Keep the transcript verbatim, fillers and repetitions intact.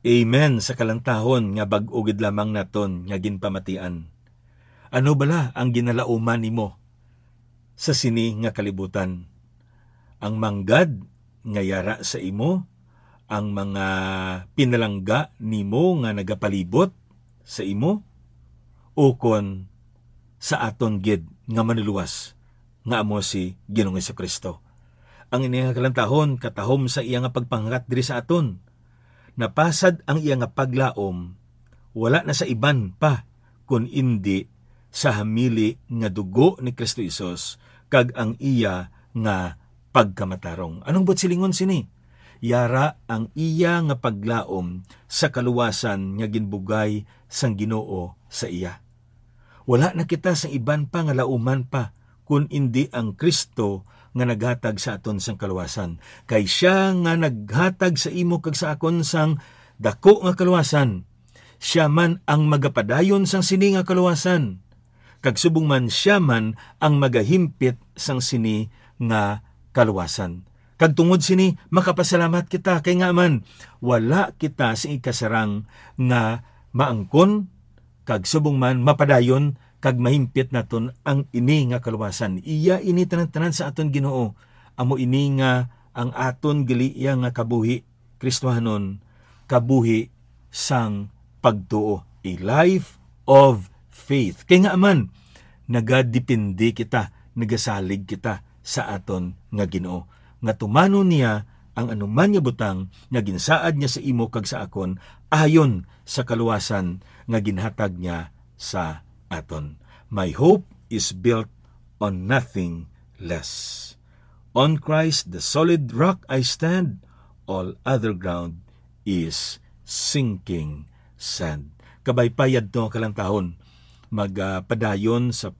Amen sa kalantahon nga bag-o gid lamang naton nga ginpamatian. Ano bala ang ginalauman nimo sa sini nga kalibutan? Ang manggad nga yara sa imo, ang mga pinalangga nimo nga nagapalibot sa imo, ukon sa aton gid nga Manlulowas nga amo si Ginoong Jesu-Cristo? Ang ini nga kalantahon katahom sa iya nga pagpanghat diri sa aton. Napasad ang iya nga paglaom, wala na sa iban pa, kun indi sa hamili nga dugo ni Kristo Jesus kag ang iya nga pagkamatarong. Anong buot silingon sini? Yara ang iya nga paglaom sa kaluwasan nga ginbugay sang Ginoo sa iya. Wala na kita sa iban pa nga lauman pa, kun indi ang Cristo nga naghatag sa aton sang kaluwasan. Kay sia nga naghatag sa imo kag sa akon sang dako nga kaluwasan, sia man ang magapadayon sang sini nga kaluwasan, kag subong man sia man ang magahimpit sang sini nga kaluwasan. Kag tungod sini, makapasalamat kita, kay nga man, wala kita sa ikasarang nga maangkon, kag subong man mapadayon kag mahimpit naton ang ini nga kaluwasan. Iya ini tanan-tanan sa aton Ginoo. Amo ini nga ang aton gali iya nga kabuhi Kristohanon, kabuhi sang pagtuo, a life of faith. Kay nga man, nagadepende kita, nagasalig kita sa aton nga Ginoo, nga tumanon niya ang anuman nga butang nga ginsaad niya sa imo kag sa akon, ayon sa kaluwasan nga ginhatag niya sa aton. My hope is built on nothing less. On Christ, the solid rock, I stand, all other ground is sinking sand. Kabay pa yadto nga kalantahon, magpadayon sa